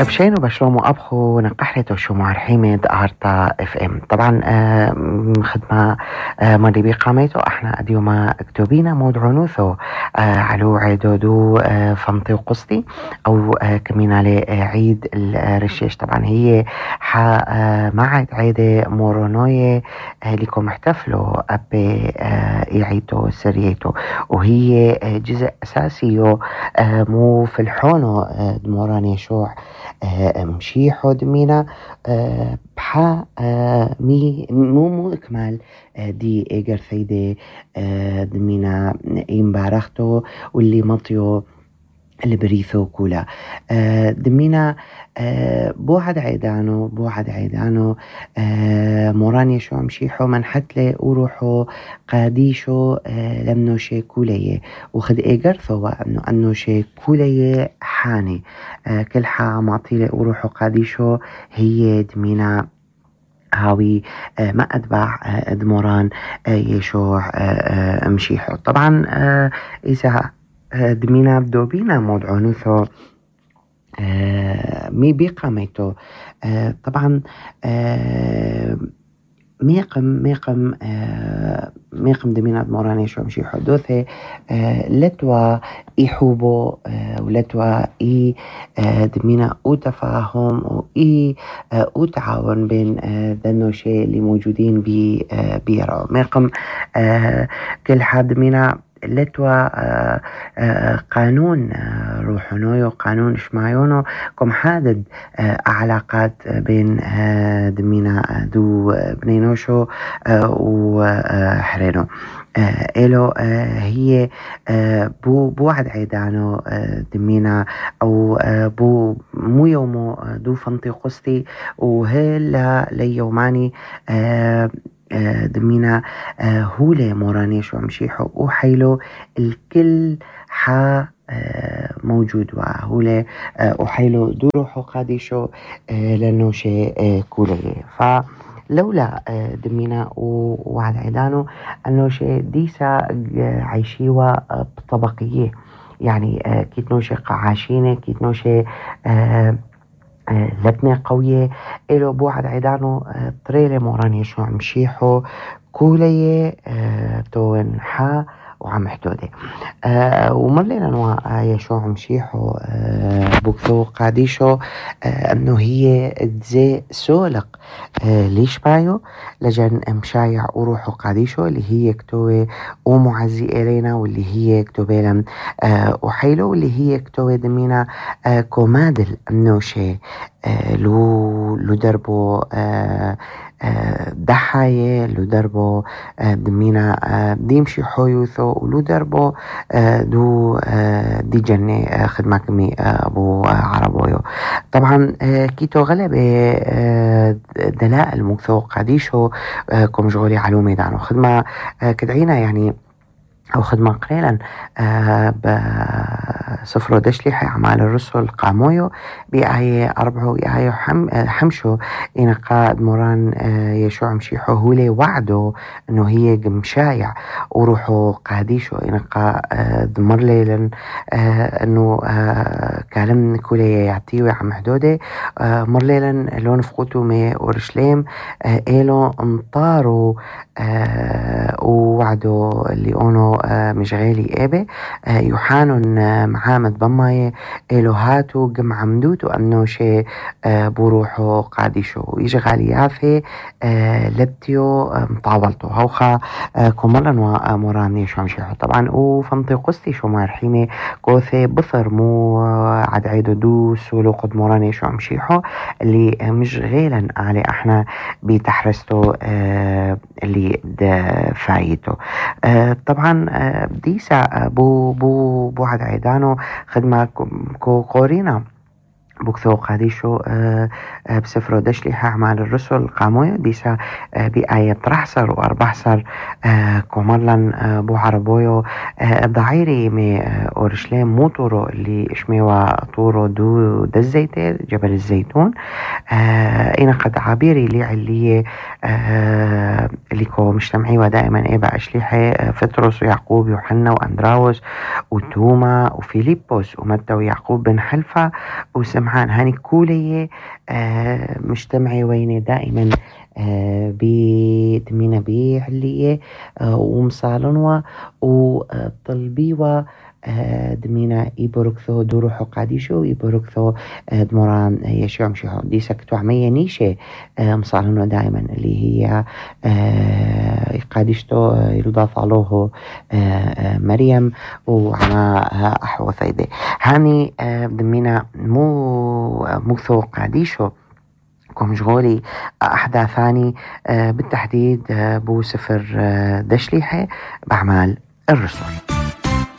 بشين وبشلوم وأبخو نقحلت وشو حميد أرتا اف ام. طبعا خدمة مالي بقاميتو احنا اديوما اكتوبينا مود عنوثو علو عيدودو فمطي وقصتي او كمين على عيد الرشيش. طبعا هي معد عيدة مورونوية لكم احتفلوا ابي يعيتو سريتو، وهي جزء اساسي مو في الحونو دموراني شوع مشيحو دمينا بحا مو إكمال دي إيجر ثيدي دمينا إمبارختو واللي مطيو اللي بريثو كولا دمينا بوعد عيدانو موراني شو مشيحو من حتلي وروحو قاديشو لمنو شي كوليه وخد إيجر ثوا أنو شي كوليه حاني كل معطيلي وروحو قاديشو هي دمينا هاوي ما أتبع دموران يشوع مشيحو. طبعا إذا دمينا بدوبينا مود عنوثو مي بقاميتو طبعا ميقم دمينا دموران يشوع مشيحو دوثي لتوا يحوبو ولتوا دمينا او تفاهم و او تعاون بين دنو شيء اللي موجودين بيرو ميقم كل حد منا لتوا قانون روحونو قانون شمايونو كم حادد علاقات بين دمينا دو بنينوشو وحرينو إلو هي بوعد عيدانو دمينا أو مو يومو دو فنطي قصتي وهلا ليوماني دمينا هولي مورانيش ومشيحو وحيلو الكل موجود وهولي وحيلو دو روحو قاديشو لأنه شيء كولي. فلولا دمينا وعد عيدانو أنه شيء ديسا عايشيوا بطبقية يعني كيتنوشي قعاشينة كيتنوشي لبنة قوية إلو بوعد عيدانو طريلة موراني شو مشيحو كولية تون حا وعم حدودي ومرلنا نوا يشوع مشيحو بوكثو قاديشو انه هي تزي سولق ليش بايو لجن مشايع وروحو قاديشو اللي هي كتوة ومعزي إلينا واللي هي كتوة لم وحيلو واللي هي كتوة دمينا كومادل النوشي لو دربو ضحايا لو دربو دمينا ديمشي حويوثو ولو دربو دو دي جنة خدمة كمي أبو عربويو. طبعا كيتو غلبة دلائل مكثو قاديشو كم جغولي علو ميدانو خدمة كدعينا يعني أو خدمة قليلا بسفرو دشلي أعمال الرسل قامويو بآية 4 آية حمشو إنقا دموران يشوع مشيحو هولي وعدو إنه هي مشايع وروحو قاديشو إنقا دمر ليلا إنه كلام كولي يعطيوي عم حدودي مر ليلا لون فقوتو مي ورشليم إلو انطارو ووعدو اللي أونو مشغالي إيبه يوحانون معامد بماي إلو هاتو قم عمدوتو أنو شي بروحو قاديشو يشغالي يافي لبتيو مطاولتو هوخا كمالا وموراني شو مشيحو. طبعا وفمطي قستي شو مارحيمي كوثي بثر مو عد عيدو دو سولو قد موراني شو مشيحو اللي مشغيلا علي احنا بتحرستو اللي فايتو. طبعا ديسا بو عد عيدانو خدمة كورينا بوكثو قاديشو بسفرو دشلي أعمال الرسل قامويو ديسا بآية 13 و14 كومرلن بو عربويو ضعيري مي أورشليم مو طورو اللي اشميوا طورو دو الزيتون جبل الزيتون إنا قد عبيري اللي اللي كو مجتمعي ودائما إيبا أشليحي فتروس ويعقوب يوحنا وأندراوس وتوما وفيليبوس ومتى ويعقوب بن حلفة وسمع سمعان هاني كولية مجتمعة ويني دائما بدمينا بعلية ومصالنوا وطلبيوا دمينا يبركثو دوروحو قاديشو يبركثو دمران يشوع مشيحو دي سكتو عمية نيشة مصالنوا دائما اللي هي قاديشتو يلضاف عليه مريم وعما أحوى ثيدة هاني دمينا مو ثو قاديشو كمشغولي أحداثاني بالتحديد بو سفر دشليحة بأعمال الرسل.